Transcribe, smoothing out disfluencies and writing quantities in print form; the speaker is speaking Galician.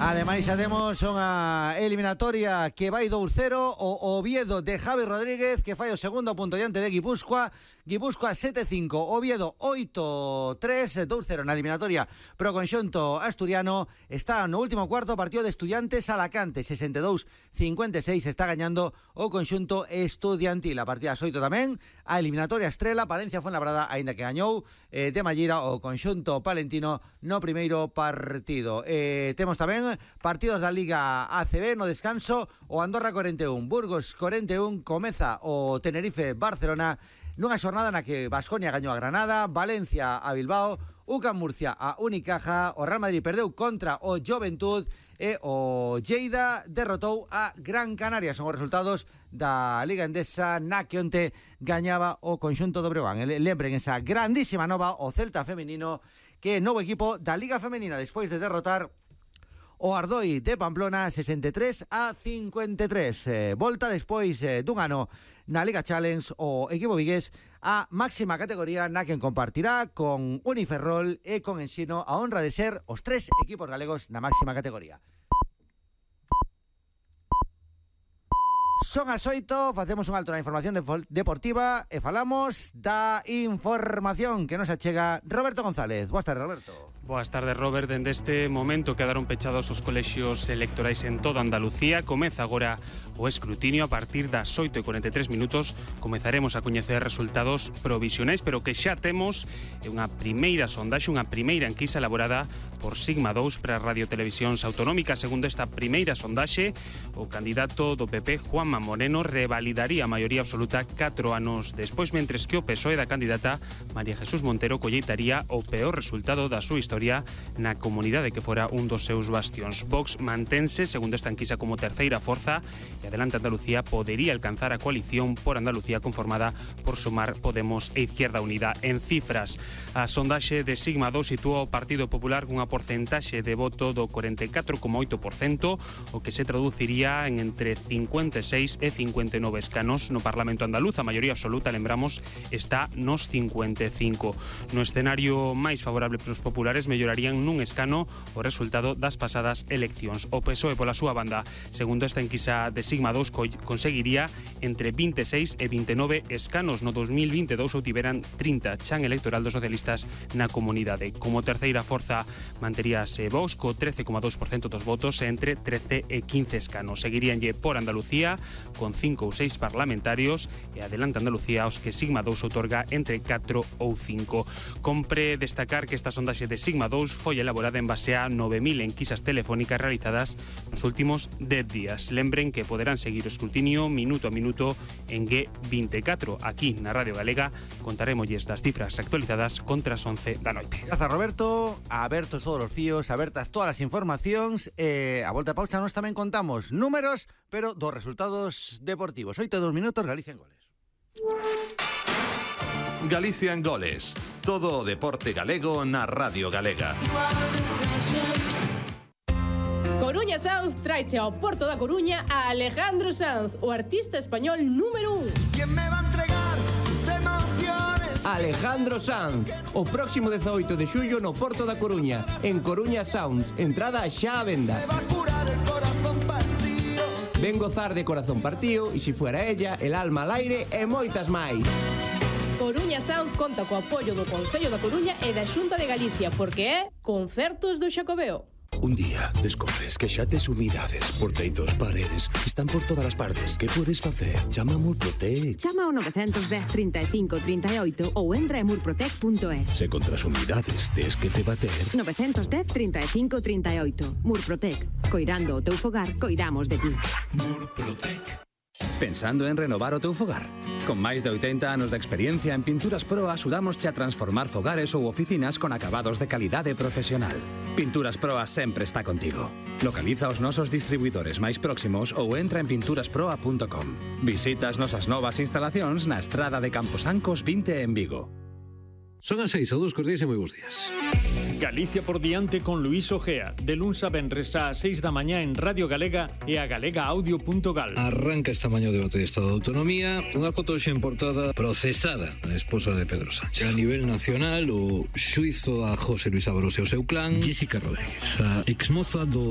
Ademais, xa temos unha eliminatoria que vai 2-0, o Oviedo de Javi Rodríguez, que fai o segundo punto diante de Guipúzcoa. Guipúzcoa 7-5, Oviedo 8-3, 2-0 na eliminatoria pro conxunto asturiano. Está no último cuarto, partido de Estudiantes Alacante, 62-56, está gañando o conxunto estudiantil. A partida das 8 tamén, a eliminatoria estrela, Palencia Fuenlabrada, aínda que gañou de Mallira o conxunto palentino no primeiro partido. Temos tamén partidos da Liga ACB no descanso, o Andorra 41, Burgos 41, comeza o Tenerife Barcelona, nunha xornada na que Baskonia gañou a Granada, Valencia a Bilbao, UCAM Murcia a Unicaja, o Real Madrid perdeu contra o Juventud e o Lleida derrotou a Gran Canaria. Son os resultados da Liga Endesa na que onte gañaba o conxunto do Breogán. Lembren esa grandísima nova, o Celta femenino, que é novo equipo da Liga Femenina despois de derrotar o Ardoi de Pamplona 63-53. Volta despois dun ano na Liga Challenge o equipo vigués a máxima categoría na que compartirá con Uniferrol e con Ensino a honra de ser os 3 equipos galegos na máxima categoría. Son as 8, facemos un alto na información deportiva e falamos da información que nos achega Roberto González. Boas tardes, Roberto. Boas tardes, Robert. Dende este momento quedaron pechados os colexios electorais en toda Andalucía. Comeza agora o escrutinio. A partir das 8:43 minutos comezaremos a coñecer resultados provisionais, pero que xa temos unha primeira sondaxe, unha primeira enquisa elaborada por Sigma 2 para Radiotelevisións Autonómicas. Segundo esta primeira sondaxe, o candidato do PP, Juanma Moreno, revalidaría a maioría absoluta 4 anos despois, mentres que o PSOE da candidata María Jesús Montero colleitaría o peor resultado da súa historia na comunidade que fora un dos seus bastións. Vox mantense, segundo esta enquisa, como terceira forza e Adelante Andalucía podería alcanzar a coalición por Andalucía conformada por Sumar, Podemos e Izquierda Unida. En cifras, a sondaxe de Sigma 2 sitúa o Partido Popular cunha porcentaxe de voto do 44,8%, o que se traduciría en entre 56 e 59 escanos no Parlamento andaluz. A maioría absoluta, lembramos, está nos 55. No escenario máis favorable para os populares, mellorarían nun escano o resultado das pasadas eleccións. O PSOE, pola súa banda, segundo esta enquisa de Sigma 2, conseguiría entre 26 e 29 escanos. No 2022 obtiveran 30, chan electoral dos socialistas na comunidade. Como terceira forza manteríase Vox co 13,2% dos votos, entre 13 e 15 escanos. Seguiríanlle por Andalucía con 5 ou 6 parlamentarios e Adelante Andalucía aos que Sigma 2 outorga entre 4 ou 5. Compre destacar que esta sondaxe de Sigma 2 foi elaborada en base a 9.000 enquisas telefónicas realizadas nos últimos 10 días. Lembren que poderán seguir o escrutinio minuto a minuto en G24. Aquí na Radio Galega contaremosles das cifras actualizadas contra as 11 da noite. Grazas, Roberto. Abertos todos os fíos, abertas todas as informacións. A volta a pausa nos tamén contamos números, pero dos resultados deportivos. 8:02 minutos, Galicia en goles. Galicia en goles. Todo o deporte galego na Radio Galega. Coruña Sounds traiche ao Porto da Coruña a Alejandro Sanz, o artista español número 1. ¿Quién me va a entregar sus emociones? Alejandro Sanz, o próximo 18 de xullo no Porto da Coruña, en Coruña Sounds, entrada xa á venda. Me va a curar el corazón partido. Ven gozar de Corazón Partido, e si fuera ella, El alma al aire e moitas máis. Coruña Sound conta co apoio do Concello da Coruña e da Xunta de Galicia, porque é Concertos do Xacobeo. Un día descobres que xa tes humidades por teitos, paredes, están por todas as partes. Que podes facer? Chama a Murprotec. Chama ao 910 35 38 ou entra en murprotec.es. Se contra as humidades tes que te bater. 910 35 38. Murprotec. Coirando o teu fogar, coidamos de ti. Murprotec. Pensando en renovar o teu fogar? Con máis de 80 anos de experiencia en Pinturas Pro axudamosche a transformar fogares ou oficinas con acabados de calidade profesional. Pinturas Pro sempre está contigo. Localiza os nosos distribuidores máis próximos ou entra en pinturasproa.com. Visita as nosas novas instalacións na Estrada de Camposancos 20 en Vigo. Son as 6, saúdos cordiais e moi bons días. Galicia por diante con Luís Ojea, de luns a venres ás 6 da mañá en Radio Galega e a galegaaudio.gal. Arranca esta mañá o debate de Estado de Autonomía, unha foto xa en portada procesada a esposa de Pedro Sánchez. A nivel nacional, o xuizo a José Luis Ábalos e o seu clan. Jessica Rodríguez, a exmoza do